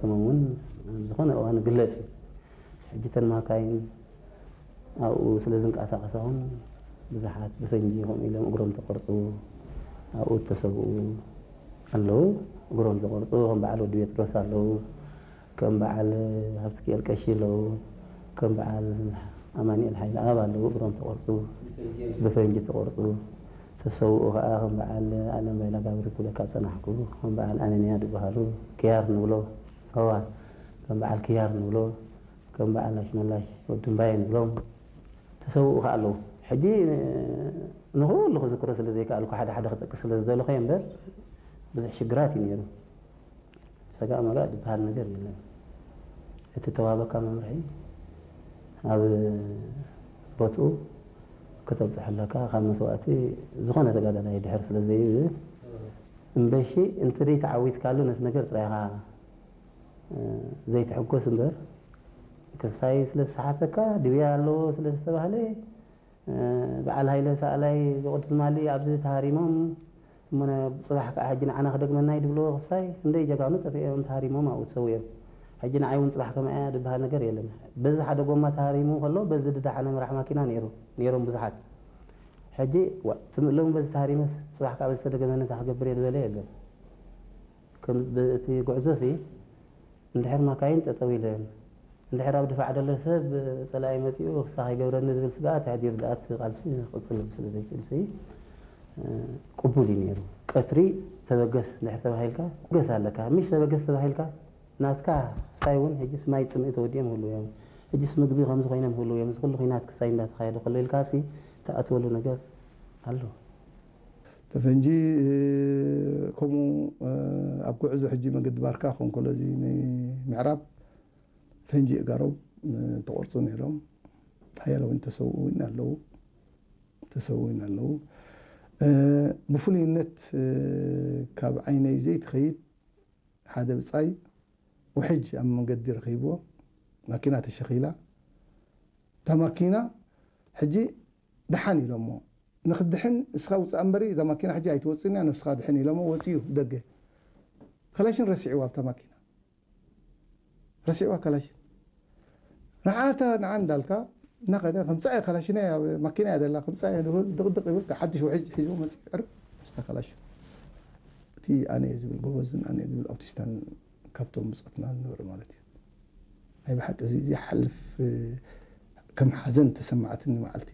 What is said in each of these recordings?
ተመን እውን ኣብ ዝኾነ እዋን ግለጽ እዩ። ሕጂ ተን ማካይን ኣብኡ ስለ ዝንቀሳቐሳ እውን ብዙሓት ብፈንጂ ከምኡ ኢሎም እግሮም ተቆርጹ፣ ኣብኡ እተሰብኡ ኣለዉ። እግሮም ተቆርጹ ከም በዓል ወዲ ጴጥሮስ ኣለዉ፣ ከም በዓል ሃብትኪኤል ቀሺ ኣለዉ፣ ከም በዓል ኣማኑኤል ሓይለኣብ ኣለዉ። እግሮም ተቆርጹ፣ ብፈንጂ ተቆርጹ። ተሰውኡ ከኣ ከም በዓል ኣለም ባይላ ጋብሪ ክብለካ ዝጸናሕኩ፣ ከም በዓል ኣነንያ ዝበሃሉ ክያር ንብሎ፣ እዋ፣ ከም በዓል ክያር ንብሎ፣ ከም በዓል ኣሽመላሽ ወዲ እምባየ ንብሎም ተሰውኡ ከኣ ኣለዉ። ሕጂ ንኹሉ ክዝክሮ ስለ ዘይከኣልኩ ሓደ ሓደ ክጠቅስ ስለ ዝደለኹ እየ እምበር ብዙሕ ሽግራት እዩ ነይሩ። ሰጋእ መጋእ ዝበሃል ነገር የለን። እቲ ተዋህበካ መምርሒ ኣብ ቦትኡ ከተብጽሖ ኣለካ። ካብ መስዋእቲ ዝኾነ ተጋዳላይ ድሕር ስለ ዘይብል እምበሺ እንተ ዘይተዓዊትካሉ ነቲ ነገር ጥራይ ኢኻ፣ እ፣ ዘይትሕጎስ እምበር፣ ክስታይ ስለ ዝሰሓተካ ድብያ ኣለዎ ስለ ዝተባህለ፣ እ፣ በዓል ሃይለ ሳእላይ ብቕዱስ ማሊ ኣብዚ ተሃሪሞም፣ እሞ ነ-፣ ጽባሕ ከኣ ሕጂ ንዓና ክደግመና እዩ ድብልዎ ክስታይ፣ ክንደይ ጀጋኑ ጠፊኦም ተሃሪሞም ኣብኡ ተሰዊኦም። ሕጂ ንዓይ እውን ጽባሕ ከማይ እያ ድበሃል ነገር የለን። በዚ ሓደ ጎማ ተሃሪሙ ከሎ፣ በዚ ድዳሓነ ምራሕ ማኪና ነይሩ፣ ነይሮም ብዙሓት። ሕጂ፣ ዋ፣ ትም-፣ ሎሚ በዚ ተሃሪመስ ጽባሕ ከኣ በዚ ተደገመኒ እንታይ ክገብር እየ ዝበለ የለን። ከም ብ-፣ እቲ ጉዕዞ ሲ እንድሕር ማካይን ጠጠው ኢለን፣ እንድሕር ኣብ ድፋዕ ዘሎ ሰብ ጸላኢ መጺኡ ክሳ ከይገብረኒ ዝብል ስግኣት ኣሕዲሩ ደኣ እቲ ቃልሲ ክቕጽል ስለ ዘይክእል ሲ፣ እ፣ ቅቡል እዩ ነይሩ። ቀትሪ ተበገስ እንድሕር ተባሂልካ፣ ትበገስ ኣለካ። ምሽ ተበገስ ተባሂልካ፣ ናትካ ስታይ እውን ሕጅስ ማይ ጽምኢ ተወዲኦም ይህልዉ እዮም። ሕጅስ ምግቢ ከምዚ ኮይኖም ይህልዉ እዮም። እዚ ኩሉ ኲናት ክሳይ እንዳተኻየደ ከሎ ኢልካ ሲ ትኣትወሉ ነገር ኣሎ። እቲ ፈንጂ፣ እ፣ ከምኡ፣ እ፣ ኣብ ጉዕዞ ሕጂ መገዲ ባርካ ክኸውን ከሎ፣ እዚ ንምዕራብ ፈንጂ እጋሮም፣ እ፣ ተቆርጹ ነይሮም። ሓያሎ እውን ተሰውኡ እውን ኣለዉ። ተሰውኡ እውን ኣለዉ። እ፣ ብፍሉይነት፣ እ፣ ካብ ዓይነይ ዘይትኸይድ ሓደ ብጻይ ውሕጅ ኣብ መንገዲ ረኺብዎ፣ ማኪና ተሸኺላ። እታ ማኪና ሕጂ ደሓን ኢሎሞ፣ ንኽድሕን እስኻ ውጻእ እምበሪ፣ እዛ ማኪና ሕጂ ኣይትወጽእን እያ፣ ነብስኻ ድሕን ኢሎሞ፣ ወጺኡ ደገ። ካላሽን ረሲዕዋ ኣብታ ማኪና። ረሲዕዋ ካላሽን። ንዓታ፣ ንዓ እንዳልካ፣ እናኸደ፣ ከምጻእ እያ ካላሽን እያ፣ ኣብ ማኪና እያ ዘላ፣ ከምጻእ እያ፣ ድብል፣ ድቕድቕ ይብል፣ ሓድሽ ውሕጅ ሒዙ መጺኡ፣ ዕርብ፣ ምስታ ካላሽን። እቲ ኣነ እየ ዝብል ጎበዝን ኣነ እየ ዝብል ኣውቲስታን ካብቶም ብጾትና ዝነበረ ማለት እዩ። ናይ ብሓቂ እዚ ዘይሓልፍ፣ እ፣ ከም ሓዘን ተሰማዕትኒ መዓልቲ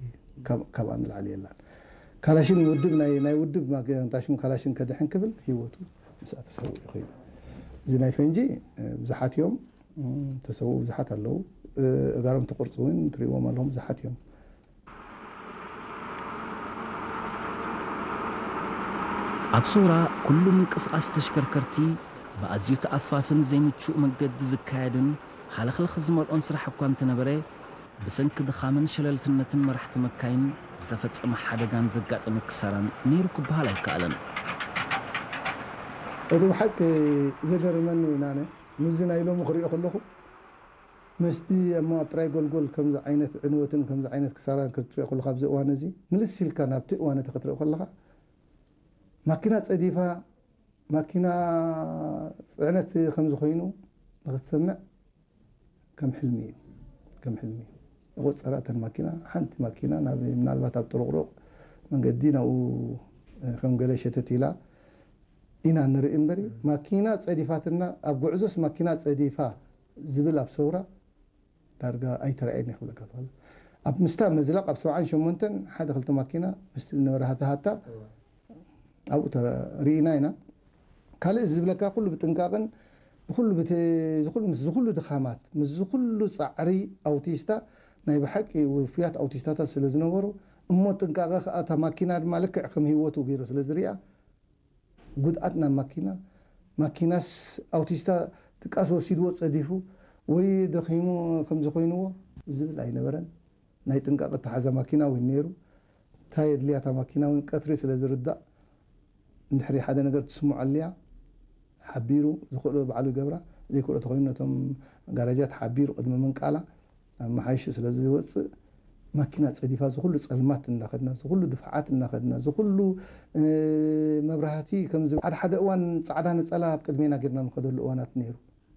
ካብ-፣ ካብኣ ንላዕሊ የላን። ካላሽን ውድብ ናይ፣ ናይ ውድብ ማገንታሽም ካላሽን ከድሕን ክብል ህይወቱ ምስኣ ተሰዊኡ ይኸይዱ። እዚ ናይ ፈንጂ፣ እ፣ ብዙሓት እዮም፣ እ፣ ተሰውኡ ብዙሓት ኣለዉ። እ፣ እጋሮም ተቆርጹ እውን ትርእይዎም ኣለኹም ብዙሓት እዮም። ኣብ ሰውራ ኩሉ ምንቅስቓስ ተሽከርከርቲ ብኣዝዩ ተኣፋፍን ዘይምቹእ መገዲ ዝካየድን ሃለኽለኽ ዝመልኦን ስራሕ እኳ እንተነበረ፣ ብሰንኪ ድኻምን ሸለልትነትን መራሕቲ መካይን ዝተፈጸመ ሓደጋን ዘጋጠመ ክሳራን ነይሩ ክበሃል ኣይከኣልን። እቲ ብሓቂ ዘገርመኒ እውን ኣነ፣ ምስዚ ናይ ሎሚ ክሪኦ ከለኹ፣ ምስቲ እሞ ኣብ ጥራይ ጎልጎል ከምዚ ዓይነት ዕንወትን ከምዚ ዓይነት ክሳራን ክትሪኦ ከለኻ፣ ኣብዚ እዋን እዚ፣ ምልስ ኢልካ ናብቲ እዋን እቲ ክትሪኦ ከለኻ፣ ማኪና ጸዲፋ፣ ማኪና ጽዕነት ከምዚ ኮይኑ ንኽትሰምዕ ከም ሕልሚ እዩ፣ ከም ሕልሚ እዩ። ይቖጸራ እተን ማኪና፣ ሓንቲ ማኪና ናብ፣ ምናልባት ኣብ ጥሩቕሩቕ መንገዲ ናብኡ፣ እ፣ ከም ገለ ሸተት ኢላ ኢና ንርኢ እምበሪ፣ ማኪና ጸዲፋትና፣ ኣብ ጉዕዞስ ማኪና ጸዲፋ ዝብል ኣብ ሰውራ ዳርጋ ኣይተራእየኒ ክብለካ ትኽእል። ኣብ ምስታ መዝለቕ ኣብ ሰብዓን ሸሞንተን ሓደ ክልተ ማኪና ምስቲ ነበረ ሃታ ሃታ ኣብኡ ተረ-፣ ርኢና ኢና። ካልእ ዝብለካ ኩሉ ብጥንቃቕን ብኩሉ ብተ-፣ ዝኩሉ፣ ምስ ዝኩሉ ድኻማት፣ ምስ ዝኩሉ ጻዕሪ ኣውቲስታ ናይ ብሓቂ ውፉያት ኣውቲስታታት ስለ ዝነበሩ፣ እሞ ጥንቃቐ ከኣ እታ ማኪና ድማ ልክዕ ከም ህይወቱ ገይሩ ስለ ዝሪኣ፣ ጉድኣት ናብ ማኪና፣ ማኪናስ ኣውቲስታ ድቃስ ወሲድዎ ጸዲፉ ወይ ደኺሙ ከምዚ ኮይንዎ ዝብል ኣይነበረን። ናይ ጥንቃቐ እተሓዛ ማኪና እውን ነይሩ። እንታይ የድልያ እታ ማኪና እውን ቀትሪ ስለ ዝርዳእ፣ እንድሕሪ ሓደ ነገር ትስምዖ ኣልያ፣ ሓቢሩ ዝኽእሎ ባዕሉ ይገብራ፣ ዘይክእሎ ተኾይኑ ነቶም ጋራጃት ሓቢሩ ቅድሚ ምንቃላ ኣመሓይሹ ስለ ዝወጽእ፣ ማኪና ጸዲፋ ዝኹሉ ጸልማት እናኸድና፣ ዝኹሉ ድፋዓት እናኸድና፣ ዝኹሉ፣ እ፣ መብራህቲ ከምዚ ሓደ ሓደ እዋን ጻዕዳ ነጸላ ኣብ ቅድሜና ጌርና ንኸደሉ እዋናት ነይሩ።